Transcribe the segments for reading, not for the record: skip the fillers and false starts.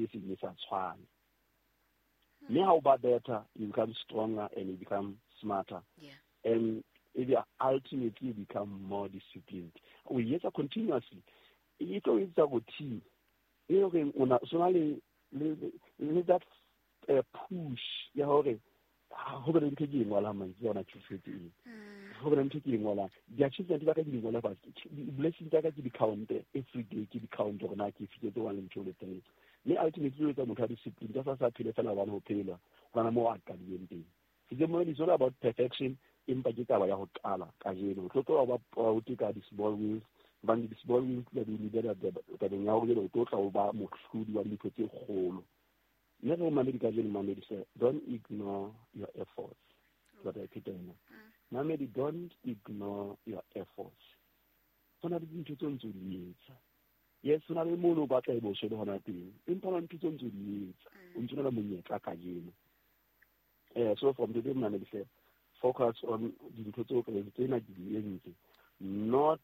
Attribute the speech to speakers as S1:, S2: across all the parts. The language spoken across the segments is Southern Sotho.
S1: e seng e sa tshwane. Mme ha o ba better, you become stronger and you become smarter. And ebe ultimately you become more disciplined. O e etsa continuously, e tlo etsa routine e horeng o na so na le that push ya hore ho be le ntho e ke e ngolang mantswe yona tshosetse eng, ho be le ntho e ke e ngolang, di-achievement tsa ka ke di ngola fatshe, di-blessing tsa ka ke di-count every day, ke di-count hore na ke fihletse one le two le three. Mme ultimately o etsa motho a discipline ka sa phele fela hobane ho phelwa hobane moo a qadileng teng. Sejemo is all about perfection, empa ke taba ya ho qala kajeno. O tlo tloha ba proud ka di-small wins, hobane di-small wins tla di lebela tabeng ya hore jwale o tlo tla o ba mohlodi wa dintho tse kgolo. Mme re mamedi kajeno, mamedi hle, don't ignore your efforts. Ke batla e pheta ena. Mamedi, don't ignore your efforts. Ho na le dintho tse ntse o di etsa. Yes, ho na le mono o batla e bo le hona teng, empa ho na le ntho tse ntse o di etsa, o ntse o na le monyetla kajeno. So from today, mamedi hle, focus on dintho tseo ka tsena ke di entse, not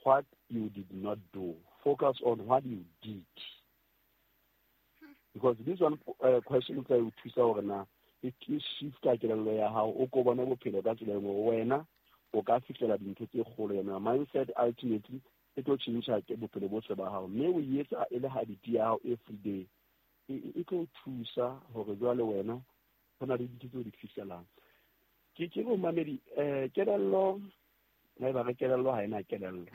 S1: what you did not do. Focus on what you did, because this one question tla o thusa hore na e shifta kelello ya hao, o ko bone bophelo ka tsela e nngwe, wena o ka fihlela dintho tse kgolo. Yona mindset ultimately e tlo tjhentjha ke bophelo bohle ba hao, mme o etsa e le habit ya hao every day, e tlo thusa hore jwale wena ho na le dintho tseo di fihlelang. Ke go mamedi, kelello na e ba re kelello ha ena kelello,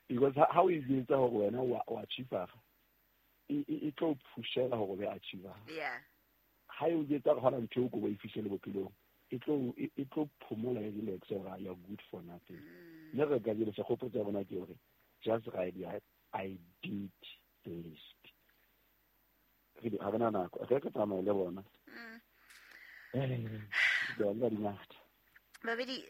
S1: because ha o e jwetsa hore wena wa achiever, e tlo pushela hore o be achiever. Ha e o jwetsa hore hona ntho eo ko ba e fihlele bophelong, e tlo phomola, e relax hore you are good for nothing. Mme re ka jelo segopotso ya rona ke hore just write your "I did" list. Re ha re na nako, re tsamaye le bona. Di ngata.
S2: Babedi,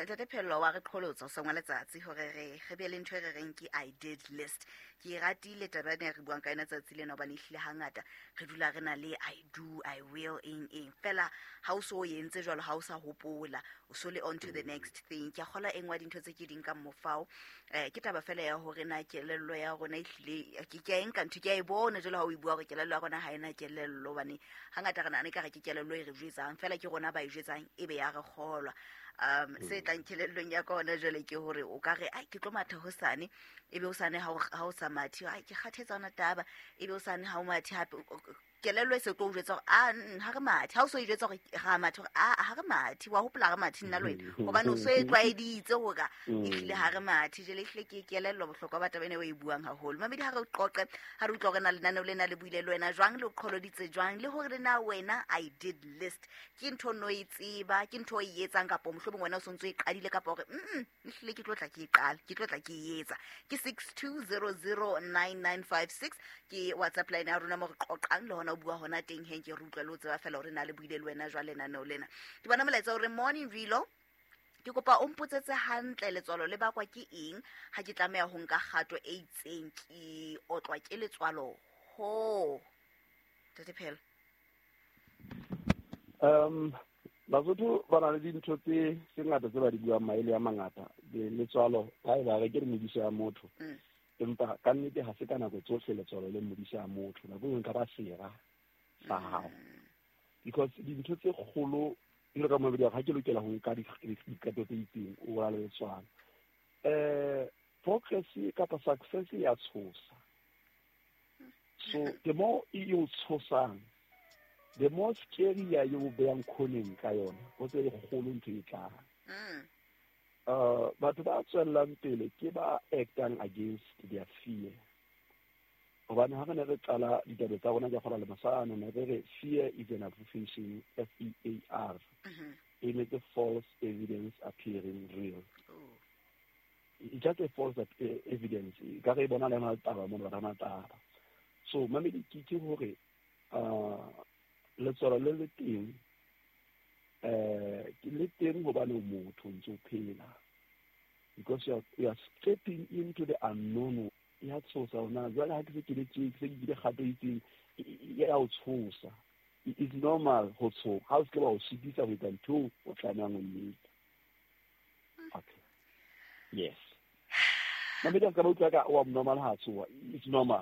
S2: ntate Phello wa re qholotsa o sengwa letsatsi hore re be le ntho e re reng ke "I did" list. Ke e ratile taba ena e re buang ka yona tsatsi lena, hobane ehlile hangata re dula re na le "I do", "I will", eng eng fela. Ha o so o entse jwalo, ha o sa hopola, o so le on to the next thing. Ke a kgola e nngwe ya dintho tse ke di nkang mofao, ke taba fela ya hore na kelello ya rona ehlile ke a e nka ntho, ke a e bona jwalo ha o e bua hore kelello ya rona ha ena kelello, hobane hangata re nahana ekare ke kelello e re jwetsang fela, ke rona ba e jwetsang, ebe ya re kgolwa. Se tlang kelellong ya ka hona jwale ke hore o ka re, "Ai, ke tlo matha hosane," ebe hosane ha o sa mathe, "Ai, ke kgathetse hona taba," ebe hosane ha o mathe hape, kelello e se tlo o jwetsa hore a ha re mathe. Ha o so e jwetsa hore ra mathe, hore a ha re mathe, wa hopola re mathe nna le wena, hobane o so e tlwaeditse hore ehlile ha re mathe. Jwale ehlile ke kelello bohlokwa ba taba ena o e buang haholo. Mamedi, ha re qoqe, ha re utlwa hore na lenaneo lena le buile le wena jwang, le o qholoditse jwang, le hore le na wena "I did" list ke ntho no e tseba, ke ntho o e etsang, kapa mohlomong wena o sontso e qadile, kapa hore ehlile ke tlo tla ke e qala, ke tlo tla ke e etsa. Ke 62009956 ke WhatsApp line ya rona mo re qoqang le hona o bua hona teng heng. Ke re utlwa le ho tseba fela hore na le buile le wena jwang lenaneo lena. Ke bona molaetsa hore, "Morning Rilo, ke kopa o mpotsetse hantle, letswalo le bakwa ke eng? Ha ke tlameha ho nka kgato e itseng, ke otlwa ke letswalo." Ho tate Phelo.
S1: Basotho ba na le dintho tse ngata tse ba di buang, maele a mangata. Letswalo ha e ba re ke re modisa ya motho, empa ka nnete ha se ka nako tsohle letswalo le modisa ya motho. Nako e nngwe ka ba sera sa hao, because dintho tse kgolo jalo ka mabedi, ha ke lokela ho nka diqeto tse itseng, o ba le letswalo. Progress kapa success ya tshosa. So the more e o tshosang, the more scary ya e o beyang khoneng ka yona, o tse e kgolo ntho e tlang. Batho ba tswellang pele ke ba actang against their fear, hobane ha re ne re qala ditaba tsa rona, ke kgola le masano, ne re re fear is an abbreviation, FEAR, e metse false evidence appearing real. It's just a false evidence ka re e bona le na le taba mono, ba na taba. So mamedi, ke hore letswalo le teng, ke le teng hobane o motho, o ntse o phela, because you are stepping into the unknown. Ya tshosa hona jwale ha ke se ke le tje, ke se ke kile kgato e itseng, ya o tshosa. It's normal ho tshoha, ha o se ke wa o sitisa ho etsa ntho eo o tlamehang ho e etsa. Okay, yes, mamedi, a se ka ba utlwa ka wa normal ha tsoha. It's normal.